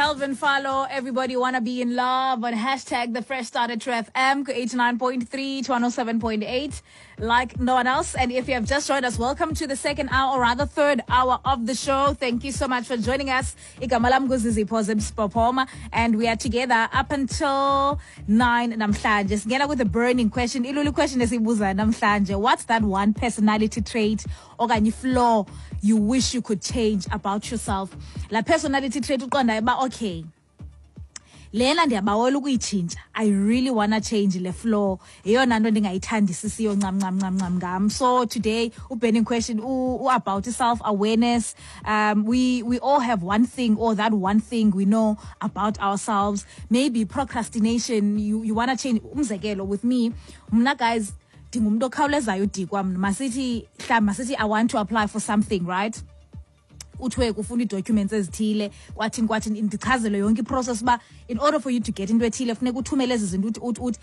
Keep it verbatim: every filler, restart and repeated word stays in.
Calvin Follow, everybody wanna be in love on hashtag the fresh start at True FM eighty-nine point three to one oh seven point eight, like no one else. And if you have just joined us, welcome to the second hour, or rather third hour of the show. Thank you so much for joining us. Igama lam nguZizipho Zimspopoma, and we are together up until nine namhlanje. Singena with a burning question. Ilulu question esibuza namhlanje. What's that one personality trait okanye flaw you wish you could change about yourself? La personality trait uqondayo uba okay, lena ndiyabawela ukuyitshintsha. I really wanna change le flaw. Yeyona nto ndingayithandisisiyo ncam ncam ncam ncam ngam. So today uburning question u, u about self-awareness. Um, we, we all have one thing or that one thing we know about ourselves. Maybe procrastination, you, you wanna change. Umzekelo with me, mna guys, ndingumntu okhawulezayo udikwa mna. Masithi, mhlawumbi masithi I want to apply for something, right? Uthiwe kufuna ii-documents ezithile, kwathini kwathini, ndichazele yonke iprocess uba in order for you to get into ethile funeka uthumele ezi zinto, uthi uthi uthi